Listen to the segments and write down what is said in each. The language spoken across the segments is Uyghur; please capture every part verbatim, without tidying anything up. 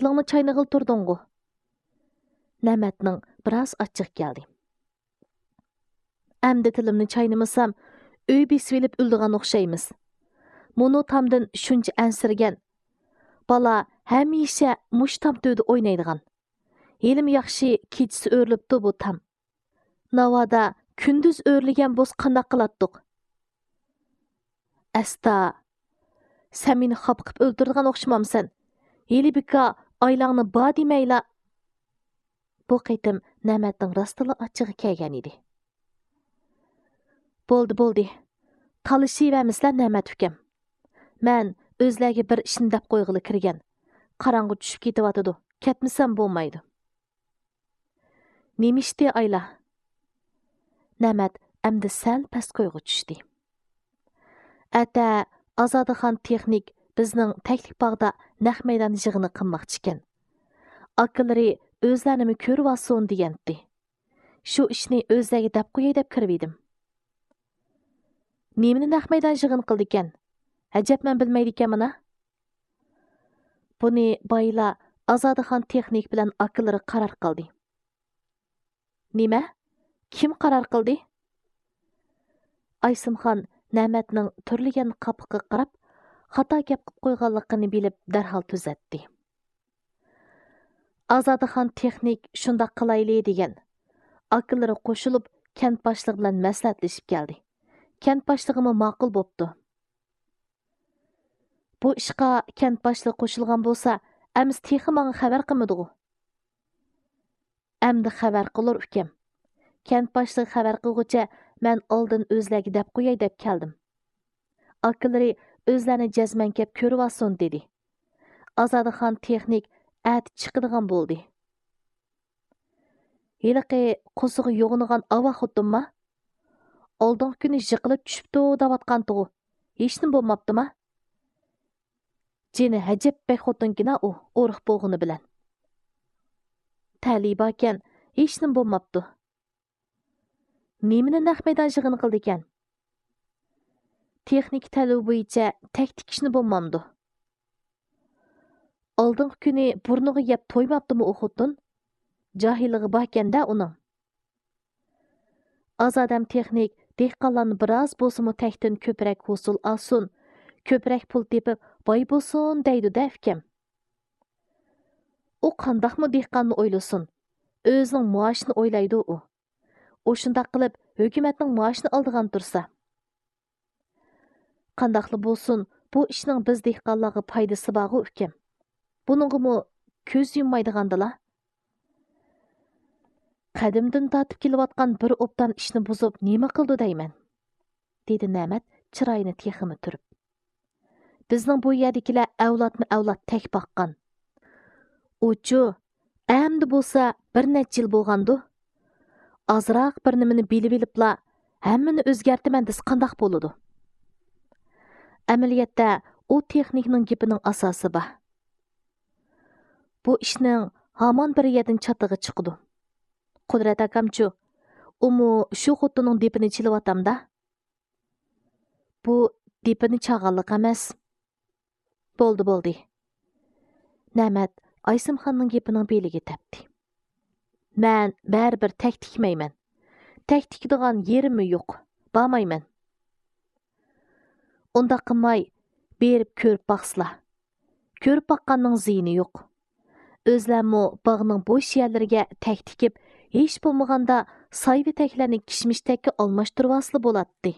تىلىڭنى چاينىغىلى تۇردۇڭغۇ؟ نەمەتنىڭ بىراز ئاچچىقى كەلدى. ئەمدى تىلىمنى چاينىمىسام، ئۆي بېسىۋېلىپ ئۆلىدىغان ئوخشايمىز. مۇنۇ تامدىن شۇنچە ئەنسىرىگەن. بالا ھەمىشە مۇشۇ تام تۈۋىدە ئوينايدىغان. ھېلىمۇ ياخشى كېچىسى ئۆرۈلۈپتۇ بۇ تام. ناۋادا كۈندۈز ئۆرۈلگەن بولسا قانداق قىلاتتۇق؟ ئەستا، سەن مېنى خاپا قىلىپ ئۆلتۈرىدىغان ئوخشىمامسەن؟ ھېلى بىكار ئايلاڭنى بار دېمەيلا. بۇ قېتىم نەمەتنىڭ راستىنلا ئاچچىقى كەلگەن ئىدى. بولدى، بولدى. تالىشىۋەرمىسىلە نەمەت ئۇكام. مەن ئۆزلەرگە بىر ئىشنى دەپ قويغىلى كىرگەن. قاراڭغۇ چۈشۈپ كېتىۋاتىدۇ. كەتمىسەم بولمايدۇ. نېمە ئىشتى ئايلا؟ نەمەت ئەمدى سەل پەس كويغا چۈشتى. ئەتە ئازادىخان تېخنىك بىزنىڭ تەكلىك باغدا نەق مەيدان يىغىنى قىلماقچىكەن. ئاكىلىرى ئۆزلەرنىمۇ كۆرۈۋالسۇن دېگەنتى. شۇ ئىشنى ئۆزلەرگە دەپ قوياي دەپ كىرىۋىدىم. نېمىنى نەق مەيدان يىغىن قىلدىكەن؟ ئەجەب مەن بىلمەيدىكەنمەن ھە؟ بۇنى بايىلا ئازادىخان تېخنىك بىلەن ئاكىلىرى قارار قىلدى. نېمە؟ كىم قارار قىلدى؟ ئايسىمخان نەمەتنىڭ تۈرلىگەن قاپىقىغا قاراپ، خاتا گەپ قىلىپ قويغانلىقىنى بىلىپ دەرھال تۈزەتتى. ئازادىخان تېخنىك شۇنداق قىلايلى دېگەن. ئاكىلىرى قوشۇلۇپ كەنت باشلىقى بىلەن مەسلىھەتلىشىپ كەلدى. كەنت باشلىقىمۇ ماقۇل بوپتۇ. بۇ ئىشقا كەنت باشلىقى قوشۇلغان بولسا، ئەمىسە تېخى ماڭا خەۋەر قىلمىدىغۇ؟ ئەمدى خەۋەر قىلۇر ئۇكام. كەنت باشلىقى خەۋەر قىلغۇچە مەن ئالدىن ئۆزلەرگە دەپ قوياي دەپ كەلدىم. ئاكىلىرى ئۆزلەرنى جەزمەن كەپ كۆرۈۋالسۇن دېدى. ئازادىخان تېخنىك ئەتە چىقىدىغان بولدى. ھېلىقى قورسىقى يوغىنىغان ئاۋاق خوتۇنما؟ ئالدىنقى كۈنى يىقىلىپ چۈشۈپتۇ دەۋاتقانتىغۇ. ھېچنېمە بولماپتىما؟ جېنى ھەجەپ بەك خوتۇنكىنا ئۇ، ئورۇق بولغىنى بىلەن. تەلىيى باركەن، ھېچنېمە بولماپتۇ. نېمىنى نەق مەيدان يىغىن قىلىدىكەن؟ تېخنىكا تەلىپى بويىچە تەك تىكىشنى بولمامدۇ؟ ئالدىنقى كۈنى بۇرنىغا يەپ تويماپتىمۇ ئۇ خوتۇن؟ جاھىللىقى باركەن-دە ئۇنىڭ. ئازادەم تېخنىك دېھقانلارنى بىراز بولسىمۇ تەكتىن كۆپرەك ھوسۇل ئالسۇن، كۆپرەك پۇل تېپىپ باي بولسۇن دەيدۇ-دە ئۇكام. ئۇ قانداقمۇ دېھقاننى ئويلىسۇن؟ ئۆزىنىڭ مائاشىنى ئويلايدۇ ئۇ. ئۇ شۇنداق قىلىپ ھۆكۈمەتنىڭ مائاشىنى ئالىدىغان تۇرسا. قانداقلا بولسۇن، بۇ ئىشنىڭ بىز دېھقانلارغا پايدىسى بارغۇ ئۇكام. بۇنىڭغىمۇ كۆز يۇممايدىغاندىلا. قەدىمدىن تارتىپ كېلىۋاتقان بىر ئوبدان ئىشنى بۇزۇپ نېمە قىلىدۇ دەيمەن؟ دېدى نەمەت چىرايىنى تېخىمۇ تۈرۈپ. بىزنىڭ بۇ يەردىكىلەر ئەۋلادمۇ ئەۋلاد تەك باققان. ئۇچۇ، ئەمدى بولسا بىر نەچچە يىل بولغاندۇ؟ ئازراق بىر نېمىنى بىلىۋېلىپلا ھەممىنى ئۆزگەرتىمەن دېسە قانداق بولىدۇ؟ ئەمەلىيەتتە ئۇ تېخنىكنىڭ گېپىنىڭ ئاساسى بار. بۇ ئىشنىڭ ھامان بىر يەردىن چاتىقى چىقىدۇ. قۇدرەت ئاكامچۇ؟ ئۇمۇ شۇ خوتۇننىڭ دېپىنى چېلىۋاتامدا؟ بۇ دېپىنى چالغانلىق ئەمەس. بولدى، بولدى. نەمەت ئايسىمخاننىڭ گېپىنىڭ بېلىگە تەپتى. مەن بەرىبىر تەك تىكمەيمەن. تەك تىكىدىغان يېرىممۇ يوق. بارمايمەن. ئۇنداق قىلماي، بېرىپ كۆرۈپ باقسىلا. كۆرۈپ باققاننىڭ زىيىنى يوق. ئۆزلەرمۇ باغنىڭ بوش يەرلىرىگە تەك تىكىپ، ھېچ بولمىغاندا سايۋا تەكلەرنى كىشمىش تەككە ئالماشتۇرۇۋالسىلا بولاتتى.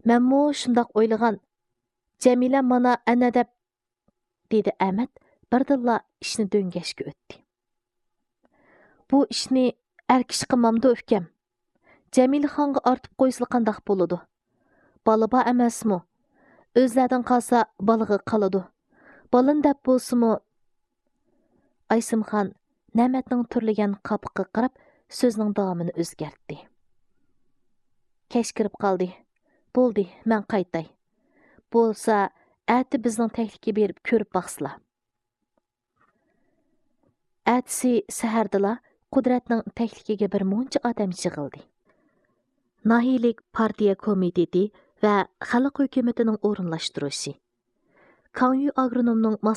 مەنمۇ شۇنداق ئويلىغان. جەمىلە مانا ئەنە دەپ، دېدى ئەمەت بىردىنلا ئىشنى دۆڭگەشكە ئۆتتى. بۇ ئىشنى ئەر كىشى قىلمامدۇ ئۇكام؟ جەمىلىخانغا ئارتىپ قويسىلا قانداق بولىدۇ؟ بالا بار ئەمەسمۇ؟ ئۆزلەردىن قالسا بالىغا قالىدۇ. بالىنى دەپ بولسىمۇ. ئايسىمخان نەمەتنىڭ تۈرلىگەن قاپىقىغا قاراپ سۆزىنىڭ داۋامىنى ئۆزگەرتتى. كەچ كىرىپ قالدى. بولدى، مەن قايتاي. بولسا ئەتە بىزنىڭ تەكلىككە بېرىپ كۆرۈپ باقسىلا. ئەتىسى سەھەردىلا قۇدرەتنىڭ تەكلىكىگە بىر مۇنچە ئادەم يىغىلدى. ناھىيىلىك پارتىيە كومىتېتى ۋە خەلق ھۆكۈمىتىنىڭ ئورۇنلاشتۇرۇشى، كاڭيۈ ئاگرونومنىڭ ماسلىشىشى